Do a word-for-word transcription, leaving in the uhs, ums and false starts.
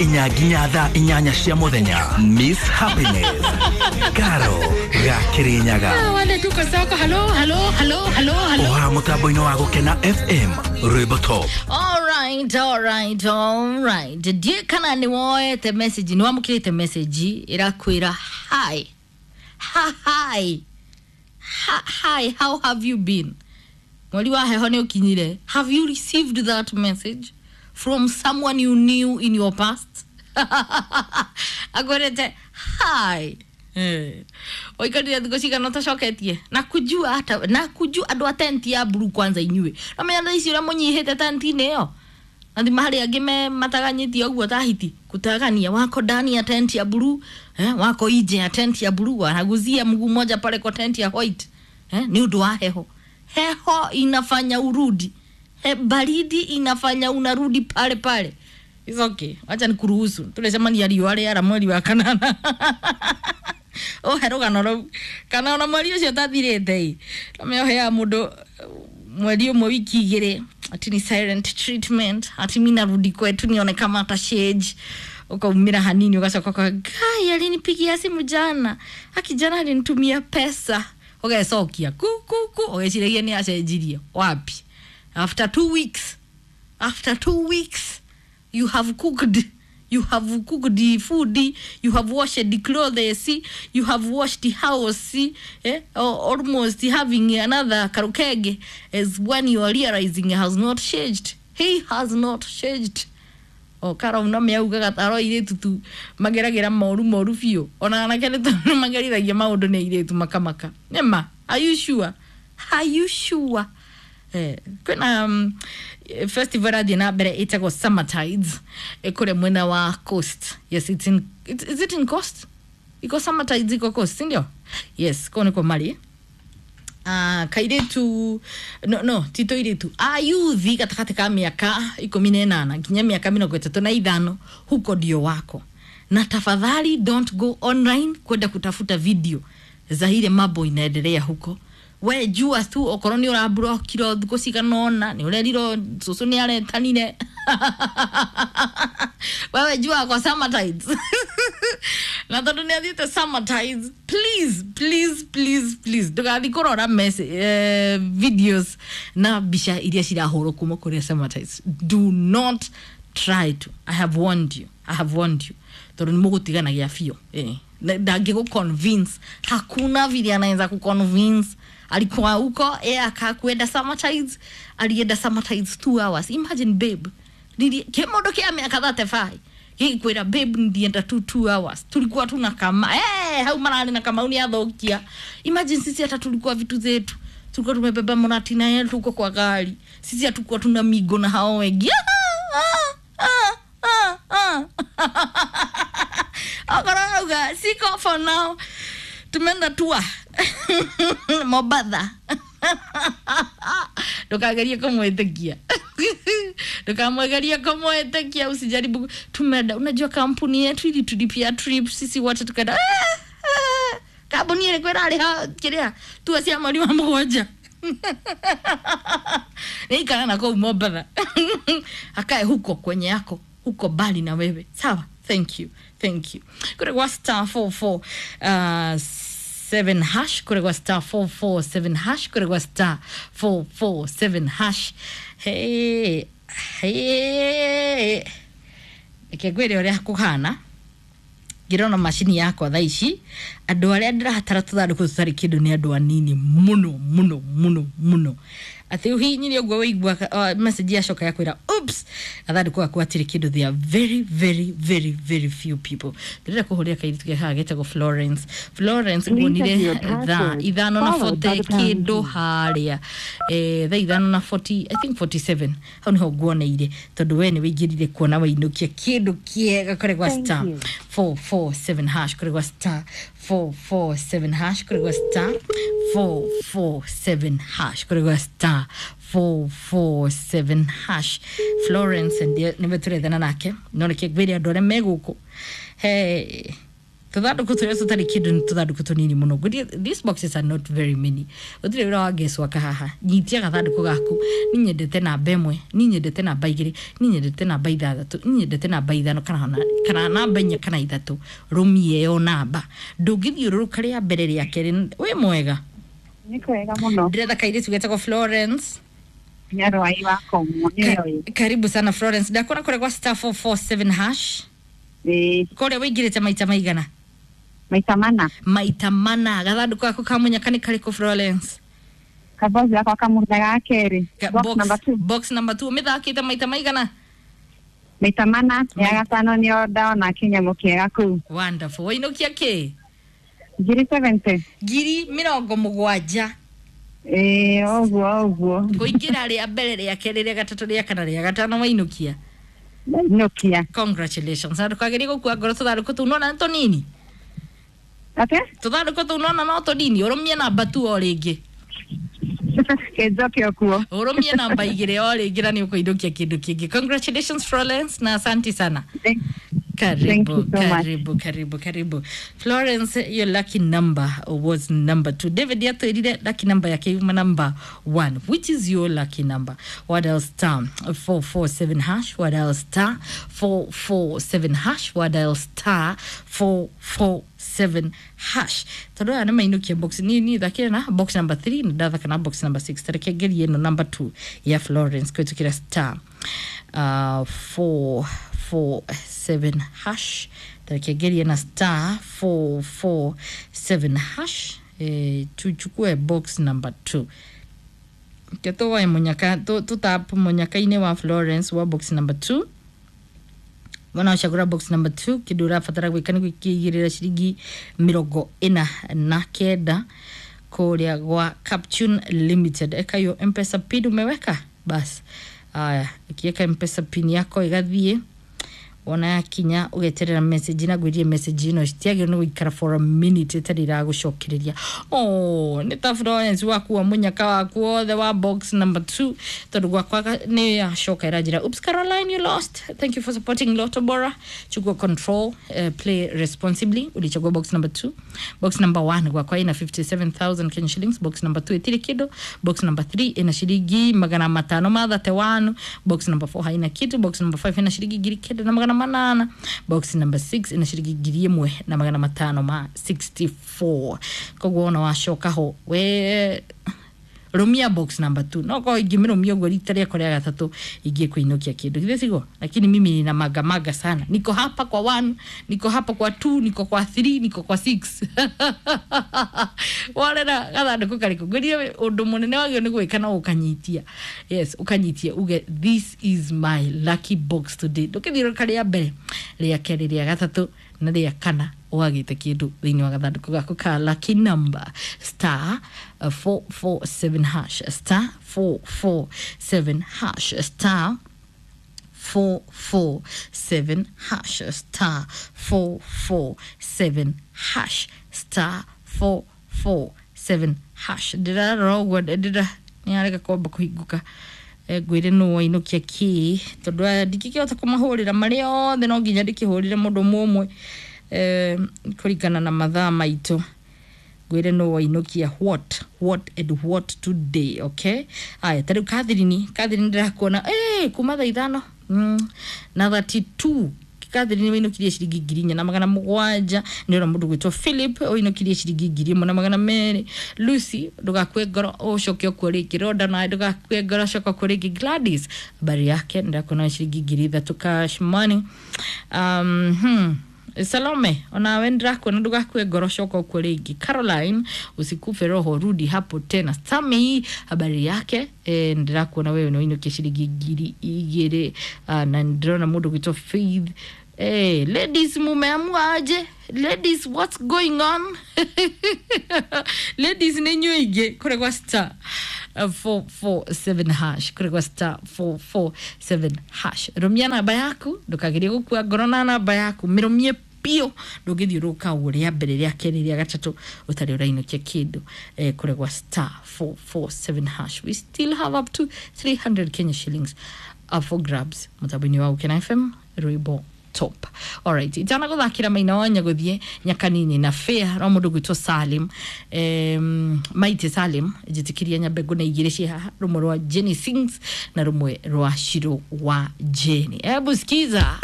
Inya nginya thaa inyanya cia muthenya. Miss Happiness Karo ga Kirinyaga. Wale tuko soko. Hello, hello, hello, hello, hello. Oha mutambo-inĩ wa Gũkena F M rwĩmbo top. All right, all right, all right. Ndiĩ kana nĩ woete message, nĩ wamũkĩrĩte message ĩrakwĩra hi. Ha, hi. Ha, hi, how have you been? Mweri wa heho nĩ ũkinyire. Have you received that message from someone you knew in your past? Akwĩrĩte hi. Eh. Oikarire thikũ cigana ũtacoketie na kujua hata na kujua andũ a tenti ya blue kwanza inyuĩ no menya thaa ici ũrĩa mũnyihĩte tenti-inĩ ĩyo na thima harĩ angĩ me mataganyĩtie ũguo ta hiti kutagania wako ndani ya tenti ya blue, eh, wako nje ya tenti ya blue, wanaguzia mguu mmoja pale kwa tenti ya white, eh, ni ũndũ wa heho. Heho inafanya urudi. He, baridi inafanya unarudi pale pale. It's okay. Wacha nikuruhusu. Tulecemania riũa rĩara mweri wa kanana. Ũhe rũgano rũu. Kana ona mweri ũcio ũtathirĩte ĩ. No ũheaga mũndũ mweri ũmwe wiki igĩrĩ. Ati ni silent treatment. Ati mi narudi kwetu nione kama ata change. Ukaumira hanini ugacoka ukaga, Ngai alinipigia simu jana. Aki jana alinitumia pesa. Ũgecokia ku ku ku ũgeciragia nĩ acenjirie. Wapi? After two weeks. After two weeks you have cooked. You have cooked the food, you have washed the clothes, you have washed the house, eh? Or almost having another karukege is when you are realizing he has not changed. He has not changed. O karo no meugaga taro irĩtu tu mageragĩra moru moru biũ. Ona anake nĩ magerithagia maũndũ nĩ airĩtu makamaka. Nĩma, are you sure? Are you sure? Eh, kwĩna um, festival ĩrathiĩ na mbere ĩtagwo Summer Tides ĩkũrĩa mwena wa coast. Yes, it's in, it, is it in coast? Iko Summer Tides iko coast, si ndio? Yes, kũu nĩkuo marĩ. Ah, kairĩtu no no ti tũirĩtu ayuthi gatagatĩ ka mĩaka ikũmi na ĩnana nginya mĩaka mĩrongo ĩtatũ na ithano huko ndio wako. Na tafadhali don't go online kwenda kutafuta video za ile mambo inaendelea huko. We jua tu okorwo ni ũraburokirwo thikũ cigana ũna nĩ ũrerirwo cũcũ nĩ aretanire. Wewe jua kwa Summer Tides. Na tondũ nĩ athiĩte Summer Tides, please please please please ndũgathiĩ kũrora message, eh, videos na mbica iria cirahũrwo kuma kũrĩa Summer Tides. Do not try to. I have warned you. I have warned you. Tondũ nĩ mũgũtiganagia biũ. Eh. Ndangĩgũ convince. Hakuna vile anaweza kuconvince. Alikuwa huko, eh, akakwenda Summer Tides, alienda Summer Tides two hours. Imagine babe. Nili kimondo kia miaka thirty-five. Gĩkwĩra babe ndienda tu two hours. Tulikuwa tuna kama eh hau mararĩ na kamau nĩ athũkia. Imagine sisi hata tulikuwa vitu zetu. Tulikuwa tumebeba monati na yetu huko kwa gari. Sisi hatukuwa tuna migo na hao wengi. Ah, ah, ah, ah. Okorauga siko for now. Tumeenda tua Mobatha. Ndũkagerie kũmwĩtĩkia. Ndũkamwegerie kũmwĩtĩkia, usijaribu. Tumeenda, unajua kampuni yetu ilitulipia trip sisi wote tukaenda. Kampuni ĩrĩkũ ĩrarĩha kĩrĩa tua cia mweri wa mũgwanja. Nĩikara na kũu Mobatha. Akae huko kwenye yako, huko bali na wewe. Sawa? Thank you. Thank you. Kure kwa star four four uh, seven hash. Kure kwa star four four seven hash. Kure kwa star four four seven hash. Hey, hey. Reke ngwĩre ũrĩa kũhana. Ngĩrona macini yakwa thaa ici andũ arĩa ndĩrahatara tũthandũkũ tũtarĩ kĩndũ nĩ andũ anini mũno mũno mũno mũno. Atĩ ũhihinyire ũguo waigua uh, message yacoka yakwĩra oops gathandũkũ gaku gatirĩ kĩndũ. They are very very very very few people. Ndĩrenda kũhũrĩra kairĩtu ke haha getagwo Florence. Florence nguonire thaa ithano na forty kĩndũ harĩa, eh, thaa ithano na forty, I think forty-seven hau niho nguoneire tondũ we nĩ wĩingĩrire kuona wainũkia kĩndũ kĩega kũrĩ gwa star four four seven hash, kũrĩ gwa star four four seven hash, kũrĩ gwa star four four seven hash, kũrĩ gwa star four four seven hash. Florence ndiye nĩwe tũrethana nake no reke ngwĩre andũ arĩa me gũkũ. Hey. Tuthandũkũ tũrĩa tũtarĩ kĩndũ nĩ tũthandũkũ tũnini mũno. Ngwĩrie, these boxes are not very many. Gũtirĩ wĩra wa guesswork haha. Nyitia gathandũkũ gaku. Ni nyendete namba ĩmwe, ni nyendete namba igĩrĩ, ni nyendete namba ithathatũ, ni nyendete namba ithano kana ona- kana namba inya kana ithatũ. Rũmia ĩyo namba. Ndũngĩthiũrũrũka rĩa mbere, rĩa kerĩ. Wĩ mwega? Nĩ kwega mũno. Ndĩretha kairĩtu getagwo Florence. Nyarwai wa Komwo nĩyo. Ka- karibu sana Florence. Ndakuona kũrĩa gwa star four four seven hash. Ĩĩ. Kũrĩa wĩingĩrĩte maita maigana? Maita mana. Maita mana. Gathandũkũ gaku ka mũnyaka nĩ karĩkũ, Florence? Kabox gakwa kamũtha ga kerĩ. Ka- Box number two. Box number two. Ũmĩthakĩte maita maigana? Maita mana ya Mai- gatano nĩyo ndona kĩnyamũ kĩega kũu. Wonderful. Wainũkia kĩ? Ngiri seventy. Ngiri mĩrongo mũgwanja. Ĩĩ, ũguo ũguo. Kũingĩra rĩa mbere, rĩa kerĩ, rĩa gatatũ, rĩa kana, rĩa gatano, wainũkia. Ndainũkia. Congratulations, na ndũkagerie gũkua ngoro. Tũthandũkũ tũu nona nĩ tũnini. Ate? Tũthandũkũ tũu nona no tũnini. Ũrũmie namba tu o rĩngĩ. Kĩnjoke o kuo. Ũrũmie namba igĩrĩ o rĩngĩ na nĩ ũkũinũkia kĩndũ kĩngĩ. Congratulations, Florence, na asante sana. Thank Karibu. Thank you so much. Karibu, karibu, karibu, Florence. Your lucky number was number two. David yatwirire lucky number yake yuma number one. Which is your lucky number? What else? Star four four seven hash. What else? Star four four seven hash. What else? Star four four seven hash. Tondũ aya nĩ mainũkia box. Ni ni thakire na box number three na ndathaka na box number six. Tareke ngerie ĩno number two ya Florence kũhĩtũkĩra star uh, four four seven hash. Tareke ngerie na star four four seven hash. Eh, tuchukue box number two ke tũwoe mũnyaka, tũtap mũnyaka-inĩ wa Florence wa box number two. Wona wacagũra box number two, kĩndũ ũrabatara gwĩka nĩ gwĩkĩigĩrĩra ciringi mĩrongo ĩna na kenda kũrĩa gwa Captune Limited. Eka hiyo M-Pesa PIN umeweka, bas. Aya, ukiweka M-Pesa PIN yako igathiĩ, wona yakinya ũgeterera message. Na ngwĩrie, message ĩno citiagĩrĩirwo nĩ gũikara for a minute ĩtarĩ iragũcokereria. Oh, nĩ ta Florence waku wa mũnyaka waku wothe wa box number two, tondũ gwakwa ga- nĩ yacoka ĩranjĩra, "Oops, Caroline, you lost. Thank you for supporting Lotto Bora. Chukua control, uh, play responsibly." Ulichagua box number two. Box number one gwakwa ina fifty-seven thousand Kenya shillings. Box number two ĩtirĩ kĩndũ. Box number three ina ciringi magana matano ma thirty-one. Box number four haina kitu. Box number five ina ciringi ngiri kenda na magana manana. Box number six ina ciringi ngiri ĩmwe na magana matano ma sixty-four. Koguo ona wacoka ho, we rumia box number two. No ko ingĩmĩrũmia ũguo rita rĩakwa rĩa gatatũ ingĩ kũinũkia kĩndũ githĩ siguo? Lakini mimi nina magamaga sana. Niko hapa kwa one, niko hapa kwa two, niko kwa three, niko kwa six. Warera gathandũkũ karĩkũ? Ngwĩrire ũndũ mũnene wagĩrĩirwo nĩ gwĩka no ũkanyitia. Yes, ũkanyitia uge, "This is my lucky box today." Ndũkĩthiũrũrũka rĩa mbere, rĩa kerĩ, rĩa gatatũ na rĩa kana wagĩte kĩndũ thĩinĩ wa gathandũkũ gaku ka lucky number. Star uh, four four seven hash, star four four seven hash, star four four seven hash, star four four seven hash, star four four seven hash. Ndĩrarora ũguo, ndĩra nĩ arega kwamba kũhingũka. Eh, ngwĩre nũ wainũkia kĩ, tondũ aya ndingĩkĩhota kũmahũrĩra marĩ othe, no nginya ndĩkĩhũrĩre mũndũ ũmwe ũmwe, eh, kũringana na mathaa maitũ. Ngwĩre nũ wainũkia what, what and what today. Okay, aya, ta rĩu Catherine. Catherine, ndĩrakuona eh kuma thaa ithano mm, na thirty-two. Catherine wainũkirie ciringi ngiri inya na magana mũgwanja. Nĩ ũra mũndũ gwĩtwo Philip wainũkirie ciringi ngiri ĩmwe na magana merĩ. Lucy, ndũgakue ngoro, ũcoke ũkuo rĩngĩ. Roda, nawe ndũgakue ngoro, coka ũkuo rĩngĩ. Gladys, habari yake? Ndĩrakuona ciringi ngiri ithatũ cash money. um, hmm. Salome, onawe ndĩrakuona, ndũgakue ngoro, coka ũkuo rĩngĩ. Caroline, usikufe roho, rudi hapo tena. Sami, habari yake? E, ndĩrakuona wewe nĩwainũkia ciringi ngiri igĩrĩ. uh, na ndĩrona mũndũ gwĩtwo Faith. Hey, ladies, mumeamua aje? Ladies, what's going on? Ladies, nĩ inyuĩ ingĩ kũrĩ gwa star uh, four four seven hash, kũrĩ gwa star four four seven hash. Rũmia namba yaku, ndũkagerie gũkua ngoro na namba yaku, mĩrũmie biũ. Ndũngĩthiũrũrũka ũguo rĩa mbere, rĩa kerĩ, rĩa gatatũ ũtarĩ ũrainũkia kĩndũ, eh, kũrĩ gwa star four four seven hash. We still have up to three hundred Kenya shillings up for grabs mũtambo-inĩ wa Ukena F M, rwĩmbo. top. Alright, itana guthakira maina wa nyaguthie nyakanini na fair ro mundu gwitwo Salim, um, maite Salim njitikiria nyambe ngune igiri ci haha, rumwe rwa Jenny Sings na rumwe rwa Shiro wa Jenny. Hebu sikiza.